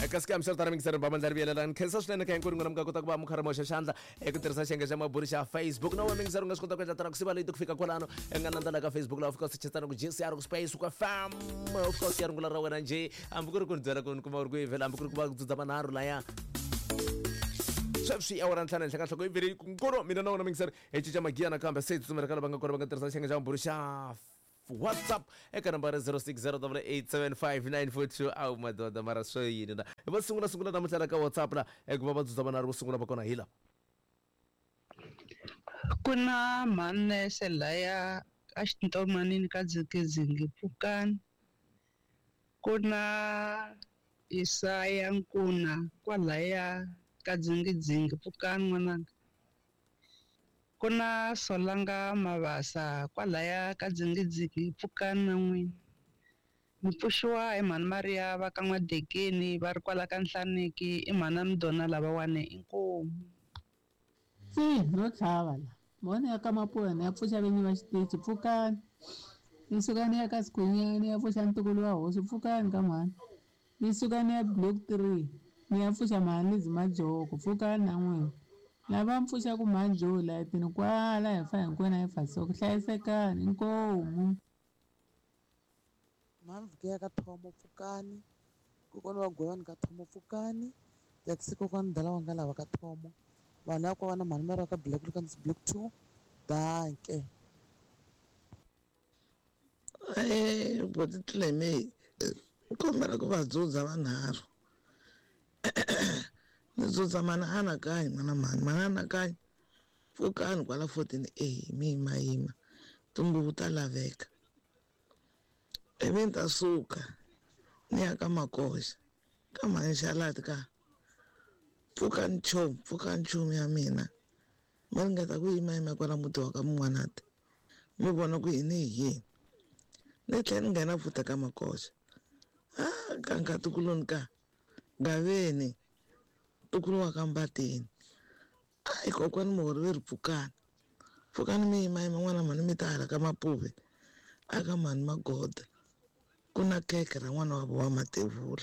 Kasi ka misava tana mingiseri ba mandlari vuyelelani khensa swinene ka hinkwenu n'wina mi nga kota ku va mi karhi mi hoxa xandla eku tirhisa xiyenge xa maburi xa Facebook. Na wena mingiseri u nga swi kota ku endla tana ku siva leyi ku fika kwalano i nga landza la ka Facebook laha u fika u sechetsana ku JCR ku space ku FM, u fika u siya rungula ra wena njhe, hambi ku ri ku ni byela ku ni kuma u ri kwihi vhela, hambi ku ri ku va ku dzudza manharhu laya. Sweswi awara ntlhanu henhla ka nhloko i vhele nkulu mina na wena mingiseri hi cinca magiya nakambe se hi tsutsumela ka lava nga kona va nga tirhisa xiyenge xa maburi xa WhatsApp eka nambara 0608875942. Awu madoda, mara swo yini na va sungula sungula namuntlha la ka WhatsApp la eku va va dzudza manharhu vo sungula va kona hi la. Ku na mhanese laya a xintomanini ka Dzikizingi pfukani. Ku na Isaya Nkuna kwalaya ka Dzingidzingi pfukani n'wananga. Ku na Solanga Mabasa kwalaya ka Dzingidzingi pfukani na n'wina. Mi pfuxiwa hi mhani Maria va ka N'wadekeni va ri kwala ka Nhlaneki i mhana Mdona lavawani inkomu. Tsi no tlhava la mona ya ka Mapuwa ya pfuxa vinyi va xitichi pfukani. Ni suka ni ya ka Sikhunyani ya pfuxa ntukulu wa hosi pfukani ka mhani. Ni suka ni ya block 3 ni ya pfuxa mhani Lizzy Majoko pfukani na n'wina. Lava mi pfuxaku mhani Joe layitini kwala hi fa hinkwenu hi fa so hlayisekani inkomu. Mhani Vhukeya ka Thomo pfukani, kokwana wa Gwewani ka Thomo pfukani, taxi kokwana Dala wa nga lava ka Thomo, vanhu ya kwava na mhani Mary ka Black Lucas Block 2, danke. Boti Tleme kombela ku va dzudza vanharhu. Ni dzudza mana anakanyi n'wana mhani, mana anakanyi pfukani kwala 14A mi yima yima tinguvu ta laveka. Ivi ni ta suka ni ya ka Makoxa ka mhani Xalati ka pfukani chomi, pfukani chomi ya mina. Mi ringeta ku yima yima kwala muti wa ka Mun'wanati mi vona ku yini hi yini. Ni tlhela ni nghena futhi ka Makoxa. Ah, ka nkatikuloni ka Gaveni ntukulu wa ka Mbatini. Ai kokwani Muhori ve ri pfukani. Pfukani mi yima yima n'wana mhani mi ta hala ka Mapuve aka mhani Magoda. Ku na khekhe ra n'wana wa vo wa Matevula.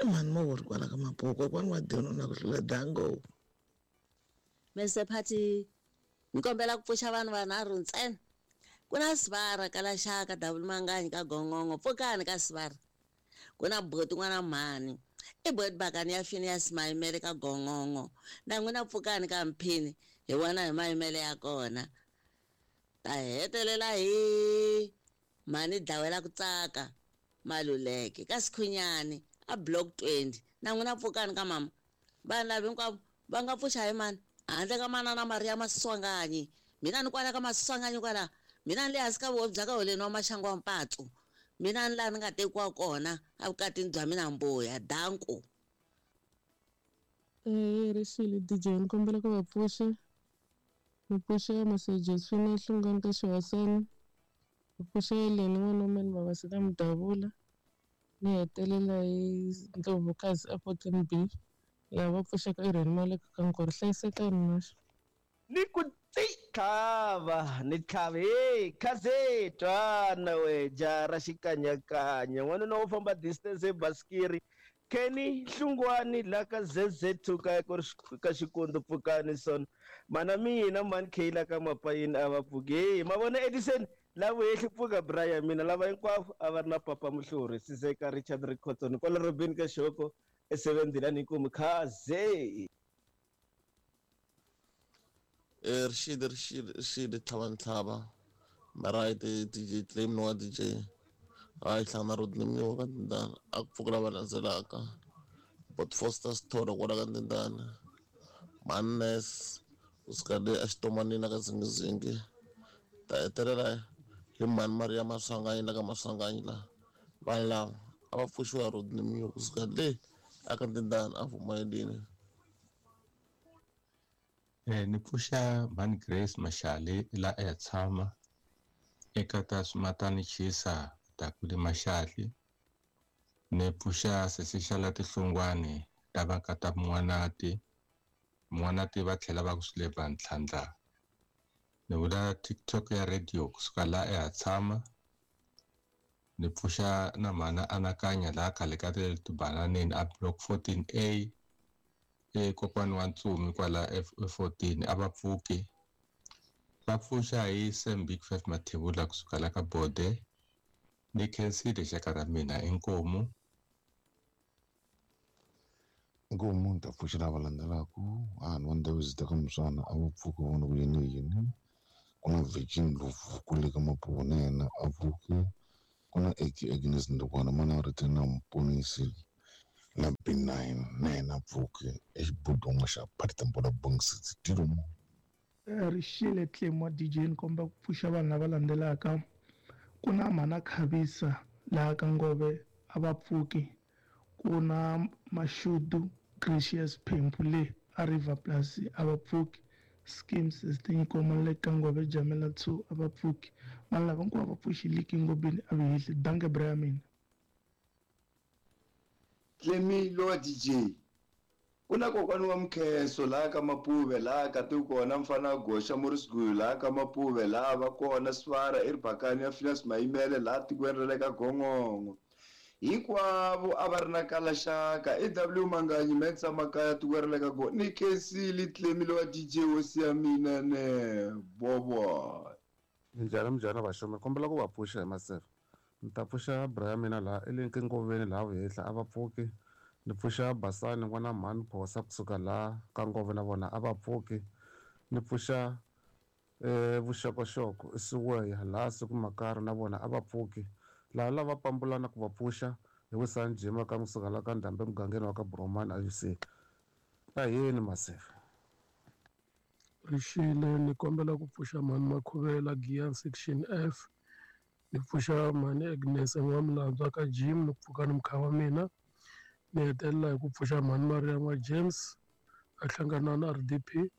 I mhani Muhori kwala ka Mapuve kokwani wa Dino na ku hlula dango. Mr Party, ni kombela ku pfuxa vanhu vanharhu ntsena. Ku na Sivara ka Laxaka, Double Manganyi ka Gongongo, pfukani ka Sivara. Ku na Boti n'wana mhani, i Boti Bakani ya Phineas Mayimele ka Gongongo. Na n'wina pfukani ka Mphini, hi vona hi mayimele ya kona. Ta hetelela hi mhani dlawela ku tsaka Maluleke ka Sikhunyani a Block 20. Na n'wina pfukani ka mama. Vanhu lava hinkwavo va nga pfuxa hi mani handle ka manana Maria Maswanganyi. Mina ni kwala ka Maswanganyi kwala, mina ni le hansi ka vuhosi bya ka Holeni wa Maxangu wa Mpatsu. Mina ni laha ni nga tekiwa kona evukatini bya mina mbuya danku. Rixile DJ, ni kombela ku va pfuxa. Ni pfuxa Mase Josephine Hlungwani ka Xihosana. Ni pfuxa Eleni n'wana wa mani Mavasita Mudavula. Ni hetelela hi Ndlovukazi a 14B. Lava pfuxaka Irene Maleka ka Nkoro. Hlayisekani naxo. Ni ku tsi tlhava ni tlhava hey khaze twana we jara xikanyakanya n'wanuna wo famba distance hi basikiri Kenny Hlungwani la ka ZZ2 ka ku ri ka Xikundu pfukani son mana mina mani K la ka Mapayini a va pfuki hey ma vona Edison la vuhehli pfuka Brian mina lava hinkwavo a va ri na papa Muhluri Sizeka Richard Rikhotson kwala Robin ka Xoko e7 inkomu khaze. Rixile rixile rixile tlhava ntlhava right DJ Claim no wa DJ hayi hlangana Rodney Mnyiwa ka Ndindana a ku pfuka lava landzelaka Bot Foster Sithole kwala ka Ndindana Mannes kusuka le exitomanini ka Zingizingi ta hetelela hi mhani Maria Maswanganyi la ka Maswanganyi la vanhu lava a va pfuxiwa Rodney Mnyiwa kusuka le aka Ndindana a Vumayelini. Ni pfuxa mhani Grace Mashale la a ya tshama eka ta Swimatani Chisa Takuli Mashali. Ni pfuxa sesi xa la Tihlungwani ta va ka ta Mun'wanati. Mun'wanati va tlhela va ku Swileva Ntlhandla. Ni vula TikTok ya radio kusuka la a ya tshama. Ni pfuxa na mhana Anakanya laha khale ka tibananeni a block 14A kokwani wa Ntsumi kwala F14 a va pfuki. Va pfuxa hi Sam Big Five Mathebula kusuka la ka Bode. Ni khensile xaka ra mina inkomu. Inkomu ni ta pfuxa lava landzelaka vanhu va ndhawu zita ka muswana a va pfuki vona ku yini yini. Ku na Virgin Ndlovu kule ka Mapuwa na yena a pfuki. Ku na Agnes Ndukwana mana ri na Muponisi na B9 na yena pfuki exibudhongo xa Partambola Bongisi Tilomo. Rixile Tlemo DJ ni komba ku pfuxa vanhu lava landzelaka. Ku na Mhana Khavisa laha ka Ngove a va pfuki. Ku na Mashudu Gracious Phempu le a River Plus a va pfuki. Schemes Sister le ka Ngove Jamela 2 a va pfuki. Vanhu lava hinkwavo va pfuxi Liki Ngobeni a vihihli. Danke bra ya mina. Tlemilo DJ ku na kokwani wa Mkheso laha ka Mapuve laha ka ti kona mfana goxa Morris Guyu laha ka Mapuve laha va kona Svara eRibakani ya Phineas Mayimele laha tikweni ra le ka Gongongo hinkwavo a va ri na kalaxaka EW Manganyi Mensa Makaya tikweni ra le ka Gongongo ni khensile Tlemilo wa DJ hosi ya mina ne bobo. Minjhani minjhani vaxomi kombela ku va pfuxa hi maseve. Ni ta pfuxa bra ya mina laha elenke ngoveni laha vuhehla a va pfuki. Ni pfuxa Basani n'wana mhani Phosa kusuka laha ka Ngove na vona a va pfuki. Ni pfuxa Vuxokoxoko Isiweya laha siku Makari na vona a va pfuki. Laha lava pambulana ku va pfuxa hi Wisani Jima ka kusuka laha ka Ndhambe mugangeni wa ka Bromani a UC. Ta yini maseve. Rixile ni kombela ku pfuxa mhani Makhuvela Giyani section F. Ni pfuxa mhani Agnes N'wamilandzwa ka Jim ni pfuka ni mukha wa mina. Ni hetelela hi ku pfuxa mhani Maria n'wa James a hlangana na RDP.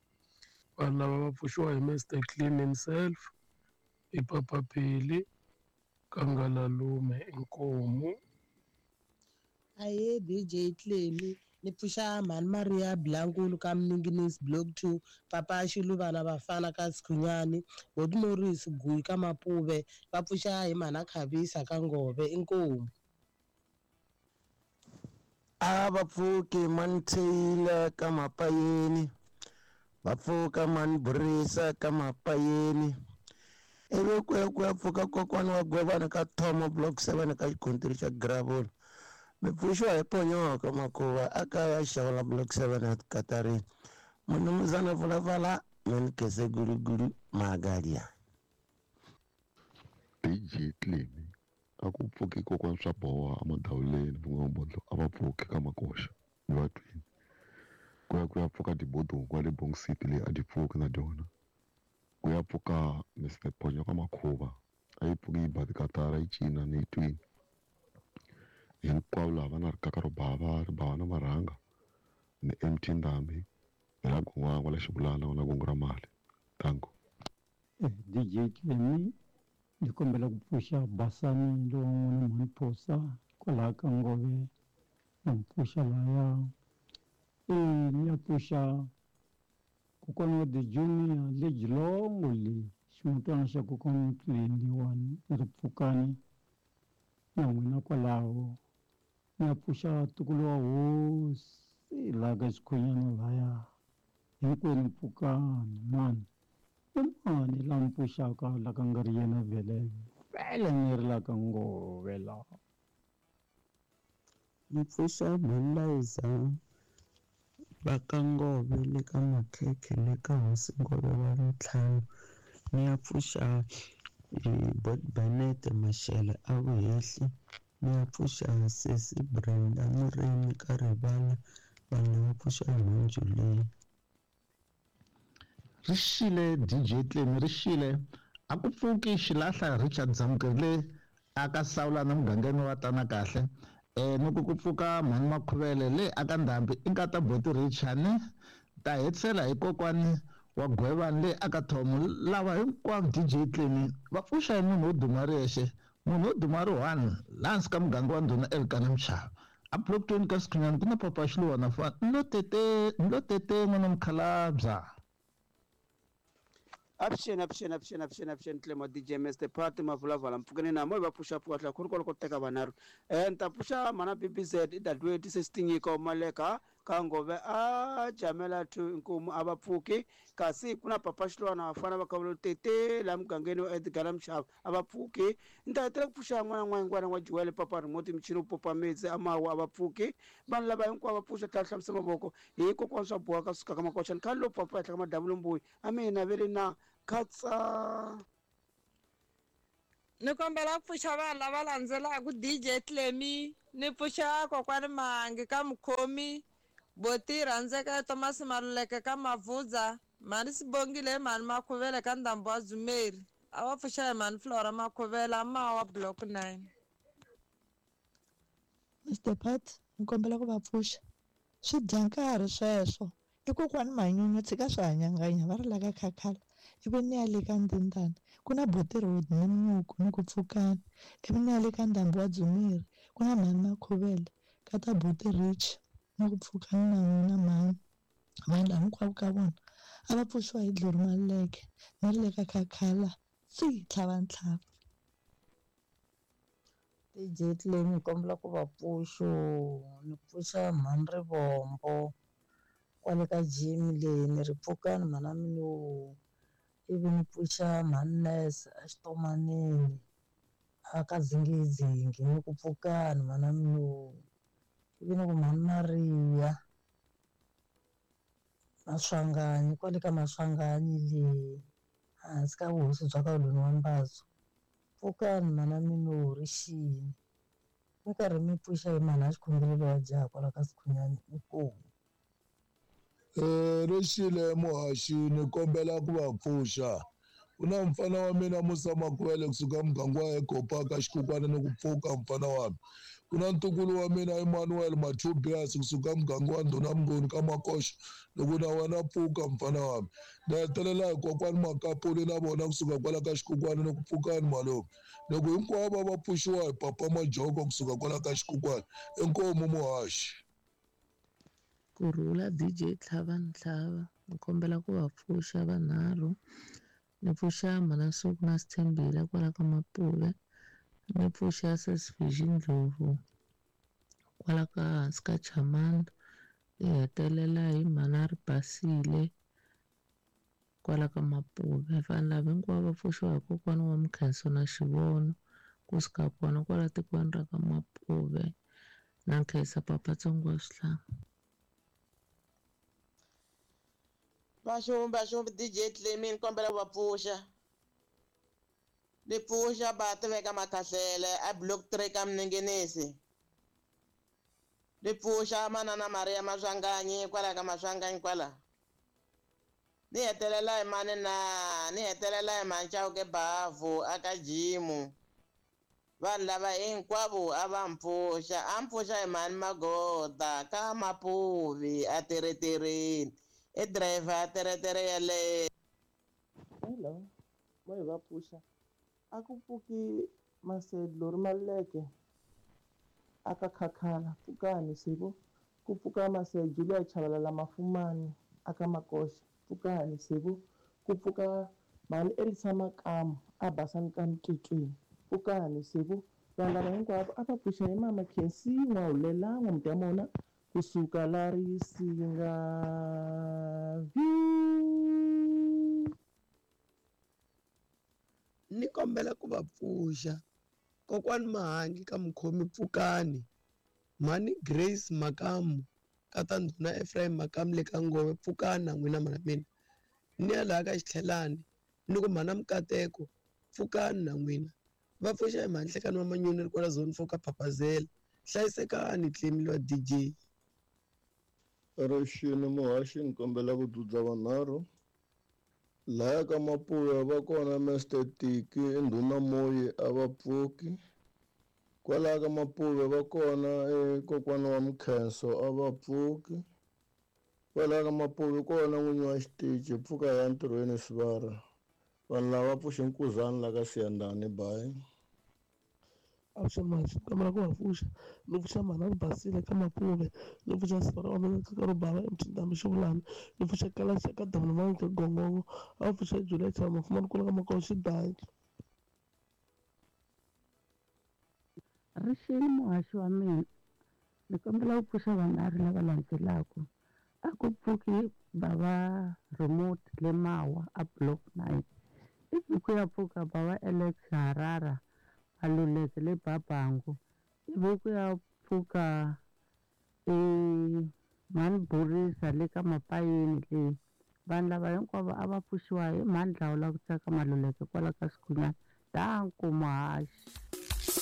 Vanhu lava va pfuxiwa hi Mr Clean himself i Papa Peli Kangalalume inkomu. Aye DJ Clemi ni pfuxa mhani Maria Blankulu ka Mninginisi Block 2 Papa Xiluvana vafana ka Sikhunyani Boti Morris Guyi ka Mapuve va pfuxa hi mhana Khavisa ka Ngove inkomu. A va pfuki mani Taylor ka Mapayeni va pfuka mani Burisa ka Mapayeni ivi ku ya ku ya pfuka kokwana wa Gwevana ka Thomo Block 7 ka xikontiri xa Gravel. Mi pfuxiwa hi Ponyoka Makuva a kaya xavula Block 7 ya Katarini. Munumuzana Vulavala mani Kese Gulugulu Magalia. DJ Clemi a ku pfuki kokwana swa boha emadawuleni vun'wamondlo a va pfuki ka Makoxa ni va twini. Ku ya ku ya pfuka dibodongo le Bong City leyi a di pfuki na dyona. Ku ya pfuka Mr Ponyoka Makhuva a yi pfuki yi ba tikatara yi cina ni yi twini. Hinkwavo lava na rikaka ro bava ri bava na marhanga ni MT Ndhambi hi la Gon'wangwa la Xibulana na Gongo ra mali. Tango. DJ Clemi ni kombela ku pfuxa Basani lowa n'wana mhani Phosa kwalaha ka Ngove na mu pfuxa laya. Ni ya pfuxa kokwana wa The Junior le Jilongo le ximutwana xa kokwana Mtlendiwani ni ri pfukani na n'wina kwalaho. Ni ya pfuxa ntukulu wa hosi laha ka Xikhunyana laya hinkwenu pfukani mani. I mani la mi pfuxaka la ka nga ri yena vhele vhele ni ri la ka Ngove la. Ni pfuxa Mhani va ka Ngove le ka Makhekhe le ka Hosi Ngove wa Ntlhanu. Ni ya pfuxa Bot Bennett Mashele a Vuhehli. Ni ya pfuxa Sesi Brenda Murimi ka Rivala. Vanhu va pfuxa nhundzu leyi. Rixile DJ Clemi rixile a ku pfuki xilahla Richard Zamukele a ka Sawulana mugangeni wa tana kahle. Loko ku pfuka mhani Makhuvele le aka Ndhambi i nkata Boti Richard ta hetisela hi kokwani wa Gwevani le aka Thomo. Lava hinkwavo DJ Clemi va pfuxa hi munhu wo duma ri yexe munhu wo duma ri one laha hansi ka muganga wa Ndhuna Elkana Mchava a block 20 ka Sikhunyani ku na Papa Xiluwana fa nlo tete n'wana mukhalabya. Avuxeni, avuxeni, avuxeni, avuxeni, avuxeni Clemo DJ Mr Party Mavulavala mpfukeni na moyi va pfuxa pfuka tlhela khulu kwaloko teka vanharhu. Ni ta pfuxa mhana BBZ i dadewethu se Tinyiko Maleka ka Ngove a Jamela 2 inkomu a va pfuki kasi ku na Papa Xilwana vafana va ka Tete la mugangeni wa Edgar Mshava a va pfuki. Ni ta hetelela ku pfuxa n'wana n'wayingwana wa Joel Papa Remote michini wu popa metsi a mawa a va pfuki. Vanhu lava hinkwavo va pfuxa tlhela hlamusa mavoko hi kokwana swa boha ka suka ka makoxani khale lo papa henhla ka madamu lombuyi a mina ve ri na khatsa. Ni kombela ku pfuxa vanhu lava landzelaka DJ Clemy, ni pfuxa kokwani Mahangi ka Mukhomi, Boti Rhandzeka Thomas Maluleke ka Mavhudza, Mhani Sibongile Mhani Makhuvele ka Ndhambo wa Dzumeri. A va pfuxa hi Mhani Flora Makhuvela Mawa Block 9. Mr Pat, ni kombela ku va pfuxa. Swi dya nkarhi sweswo. I kokwani Manyunyu tshika swi hanyanganya va ri la ka Khakhala. Ivi ni ya le ka Ndindana ku na Boti Road ni Munyuku ni ku pfukani. Ivi ni ya le ka Ndhambo wa Dzumeri ku na Mhani Makhuvele ka ta Boti Rich ni ku pfukani na n'wina mhani. Vanhu lava hinkwavo ka vona a va pfuxiwa hi Dlori Maluleke ni ri le ka Khakhala tsi tlhava ntlhava. DJ Clemy ni kombela ku va pfuxo ni pfuxa Mhani Rivombo kwale ka gym leyi ni ri pfukani mhana mina ivi ni pfuxa Mhani Nurse a xitomanini a ka dzingidzingi ni ku pfukani mhana mina ivi ni ku Mhani Maria Maswanganyi kwale ka Maswanganyi leyi hansi ka vuhosi bya ka Loni wa Mbatso pfukani mhana mina ri xini mi karhi mi pfuxa hi mhana xikhongelo wa jaha kwala ka Sikhunyani inkomu. Rixile muhaxi ni kombela ku va pfuxa. Ku na mfana wa mina Musa Makwele kusuka muganga wa Egopa ka Xikukwana ni ku pfuka mfana wa mina. Ku na ntukulu wa mina Emmanuel Mathubias kusuka muganga wa Ndhuna Mnguni ka Makoxa loko na wena pfuka mfana wa mina. Ni hetelela hi kokwani Makapuli na vona kusuka kwala ka Xikukwana ni ku pfukani malume. Loko hinkwavo va pfuxiwa hi Papa Majoko kusuka kwala ka Xikukwana inkomu muhaxi. Kurhula DJ Tlhava Ntlhava ni kombela ku va pfuxa vanharhu. Ni pfuxa Mhana Suku na Sithembile kwala ka Mapuve, ni pfuxa Sesi Ndlovu kwala ka hansi ka Chamanda, ni hetelela hi Mhana Ribasile kwala ka Mapuve. Vanhu lava hinkwavo va pfuxiwa hi kokwana wa Mukhenso na Xivono kusuka kona kwala tikweni ra ka Mapuve. Na nkhensa Papa Tsongo wa Swihlanga. Vaxumbi vaxumbi DJ Clemy ni kombela ku va pfuxa. Ni pfuxa ba tiveka Makhahlele a block 3 ka Mninginisi. Ni pfuxa manana Maria Maswanganyi kwala ka Maswanganyi kwala. Ni hetelela hi mani na ni hetelela hi Manchauke Bavu aka Jimu. Vanhu lava hinkwavo a va mpfuxa, a mpfuxa hi mhani Magoda ka Mapuvi a teretereni. I driver a teretere yaleyo. Hello, mo hi va pfuxa. A ku pfuki Masedlo ri Maluleke a ka Khakhala pfukani siku ku pfuka Masejo luya Chavalala Mafumani a ka Makoxa pfukani siku ku pfuka Mhani Elisa Makamu a Basani ka Mtitwini pfukani siku vanhu lava hinkwavo a va pfuxa hi Mama Khensi N'wahulela N'wamudamona kusuka la Risinga. Ni kombela ku va pfuxa kokwani Mahangi ka Mukhomi pfukani, Mhani Grace Makamu ka ta Ndhuna Ephraim Makamu le ka Ngove pfukani na n'wina mhana mina. Ni ya laha ka Xitlhelani ni ku mhana Mukateko pfukani na n'wina. Va pfuxa hi Mhani Nhlekani wa Manyoni ri kwala zone 4 ka Phaphazela. Hlayisekani Clemy wa DJ. Rixini muhaxi ni kombela ku dzudza vanharhu. Laya ka Mapuve va kona Mr Tiki Ndhuna Moyi a va pfuki. Kwalaha ka Mapuve va kona kokwana wa Mukhenso a va pfuki. Kwalaha ka Mapuve kona n'winyi wa xitichi pfuka ya ntirhweni Sivara. Vanhu lava pfuxe nkuzani la ka Siyandhani bayi. Avuxeni muhaxi ni kombela ku va pfuxa. Ni pfuxa mhani Basile ka Mapuve, ni pfuxa sivara wa mina ka Rubava eMthinthambi Xivulani, ni pfuxa Kalaxa ka Dabulamanzi ka Gongongo, a va pfuxa Julia Chama Mfumani kula ka Makolo Xidanki. Rixile muhaxi wa mina, ni kombela ku pfuxa vanharhu lava landzelaka. A ku pfuki bava remote le Mawa a block 9. Ivi ku ya pfuka bava Alex Harara Maluleke le Babangu. Ivi ku ya pfuka mhani Borisa le ka Mapayeni le. Vanhu lava hinkwavo a va pfuxiwa hi mhani Dlawula ku tsaka Maluleke kwala ka Sikhunyana. Danko muhaxi.